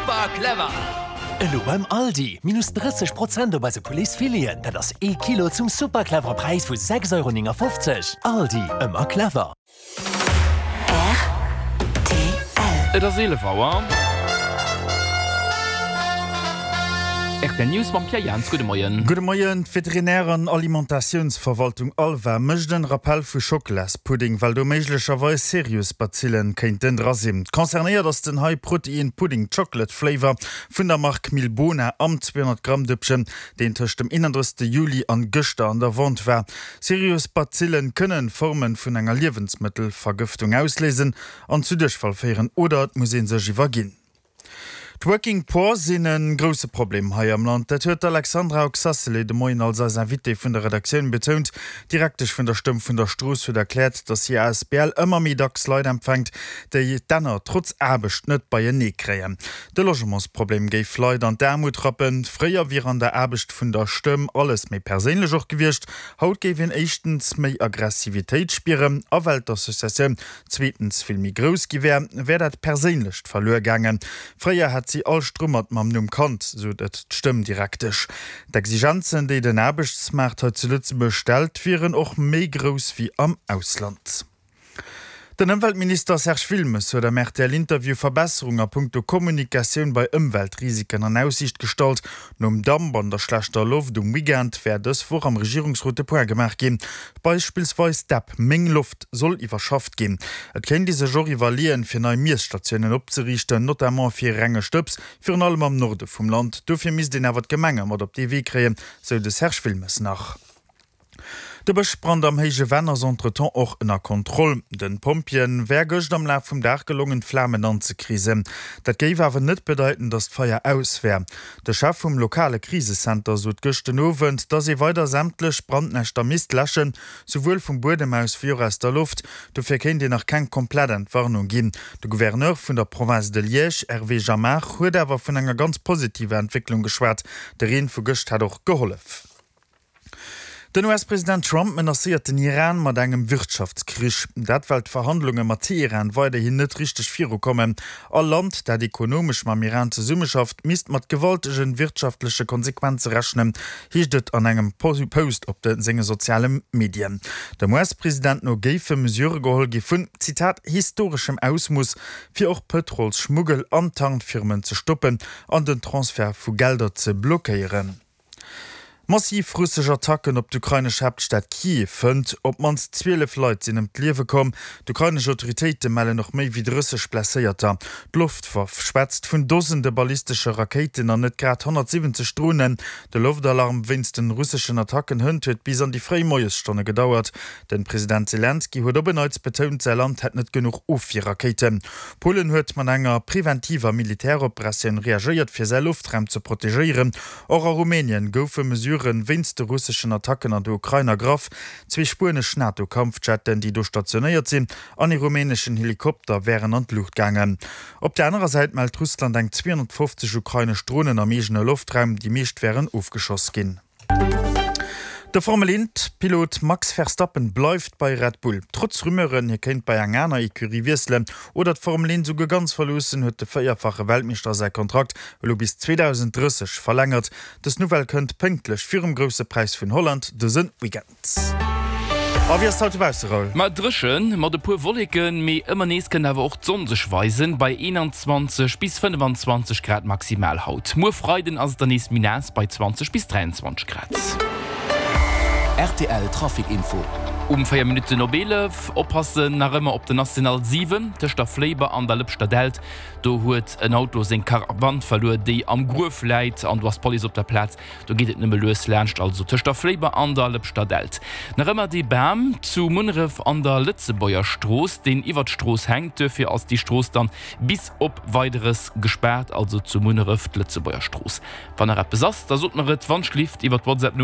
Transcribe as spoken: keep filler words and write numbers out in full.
Super clever! Elo beim Aldi, minus drësseg Prozent op eise Pouletsfileten, dat ass ee Kilo zum super clevere Präis vu sechs Euro néngafofzeg. Aldi, ëmmer clever! R T L. Et ass eelef Auer. R T L News mam Pierre Jans. Gudde Moien. Gudde Moien. D'Veterinär an Alimentatiounsverwaltung ALVA mécht en Rappell vu Schocklaspudding, well do méiglecherweis Serious-Bazillen kéinten dra sinn. Concernéiert ass den High Protein Pudding Chocolate Flavor vun der Mark Milbona am zweehonnert Gramm Dëppchen, deen tëscht dem eenandrëssegste Juli an gëschter an der Vente war. Serious-Bazillen kënnen Formen vun enger Liewensmëttelvergëftung ausléisen an zu Duerchfall féieren oder et muss ee sech iwwerginn. D'Working Poor sinn e grousse Problem hei am Land. Dat huet d'Alexandra Oxacelay de Moien als eis Invitée vun der Redaktioun betount. D'Direktesch vun der Stëmm vun der Strooss huet erkläert, datt hir asbl ëmmer méi dacks Leit empfänkt, déi d'Enner trotz Aarbecht net beienee kréien. De Logementsproblem géif Leit an d'Aarmut rappen. Fréier wier an der Aarbecht vun der Stëmm alles méi perséinlech och gewiescht. Haut géif een éischtens méi Aggressivitéit spieren a well d'Associatioun zweetens vill méi grouss gi wär, wär dat Perséinlecht verluer gaangen. Fréier hätt si all Strummert mam Numm kannt, sot et d'Stëmmdirektesch. D'Exigenzen, déi den Aarbechtsmaart hei zu Lëtzebuerg stellt, wieren och méi grouss wéi am Ausland. Den Ëmweltminister Serge Wilmes huet am R T L-Interview Verbesserung a punkto Kommunikatioun bei Ëmweltrisiken an Aussiicht gestallt. Nom Damp an der schlechter Loft um Weekend wär dës Woch am Regierungsrot de Point gemaach ginn. Beispillsweis d'App Meng Loft soll iwwerschafft ginn. Et kéint ee sech och iwwerleeën, fir nei Miesstatiounen opzeriichten, notamment fir renge Stëbs, virun allem am Norde vum Land. Dofir misst een awer d'Gemenge mat op dee Wee kréien, sou de Serge Wilmes nach. De Bëschbrand am Héije Venn ass entretemps och ënner Kontroll. Den Pompjeeën wär gëscht am Laf vum Dag gelongen, d'Flamen anzekreesen. Dat géif awer net bedeiten, datt d'Feier aus wär. De Chef vum lokale Krisecenter sot gëscht den Owend, datt ee weider sämtlech Brandnäschter misst läschen, souwuel vum Buedem aus wéi och aus der Loft. Dofir kéint een nach keng komplett Entwarnung ginn. De Gouverneur vun der Province de Liège, Hervé Jamard, huet awer vun enger ganz positiver Entwécklung geschwat. De Reen vu gëscht hätt och gehollef. Den U S-President Trump menacéiert den Iran mat engem Wirtschaftskrich. Dat well d'Verhandlunge mat Teheran weiderhin net richteg virukommen. All Land, dat ekonomesch mam Iran zesummeschafft, misst mat gewaltege wirtschaftleche Konsequenze rechnen, heescht et an engem Post op de senge soziale Medien. Dem U S-President no géife Mesurë geholl gi vun, Zitat, historeschem Ausmooss, fir och Pëtrolsschmuggel an Tankfirmen ze stoppen an den Transfert vu Gelder ze blockéieren. Massiv russesch Attacken op d'ukrainesch Haaptstad Kiew hënt. Op d'mannst zwielef Leit sinn ëm d'Liewe komm. D'ukrainesch Autoritéite mellen och méi wéi drësseg Blesséierter. D'Loftwaff schwätzt vun Dosende ballistesche Rakéiten an net grad honnertsiwwenzeg Dronen. De Loftalarm wéinst den russeschen Attacken hënt huet bis an déi fréi Moiesstonne gedauert. De President Selenskyj huet op en Neits betount, säi Land hätt net genuch Ofwierrakéiten. Polen huet mat enger preventiver Militäroperatioun reagéiert, fir säi Loftraum ze protegéieren. Och a Rumänien goufe Mesurë wéinst de russeschen Attacken an der Ukrain ergraff. Zwee spuenesch NATO-Kampfjetten, déi do stationéiert sinn, an ee rumäneschen Helikopter wären an d'Luucht gaangen. Op der anerer Säit mellt Russland eng zweehonnertfofzeg ukrainesch Dronen am eegene Loftraum, déi meescht wären ofgeschoss ginn. De Formel eent Pilot Max Verstappen bleift bei Red Bull. Trotz Rumeuren, hie kéint bei eng aner Ecurie wiesselen oder d'Formel eent esouguer ganz verloossen, huet de véierfache Weltmeeschter säi Kontrakt elo bis zweedausendrësseg verlängert. Dës Nouvelle kënnt pénktlech virum Grousse Präis vun Holland dëse Weekend. A wéi ass et haut dobausse, Raoul? Ma dréchen, mat e puer Wolleken, mee ëmmer nees kënnt awer och d'Sonn sech weisen, bei eenanzwanzeg bis fënnefanzwanzeg Grad maximal haut. Muer Freiden ass et dann nees méi naass bei zwanzeg bis dräianzwanzeg Grad. R T L Trafic Info. Um véier Minutten op eelef, oppassen nach ëmmer op der National siwen tëscht der Fléiber an der Lëpschter Dällt. Do huet en Auto seng Karawann verluer, déi am Gruef läit an do ass d'Police op der Plaz. Do geet et nëmme lues laanscht, also tëscht der Fléiber an der Lëpschter Dällt. Nach ëmmer dee Bam zu Munneref an der Lëtzebuerger Strooss, deen iwwer d'Strooss hänkt. Duerfir ass déi Strooss dann bis op Weideres gespaart, also zu Munneref d'Lëtzebuerger Strooss. Wann nach eppes ass, da sot mer et wannschlift iwwer d'WhatsApp-Nummer.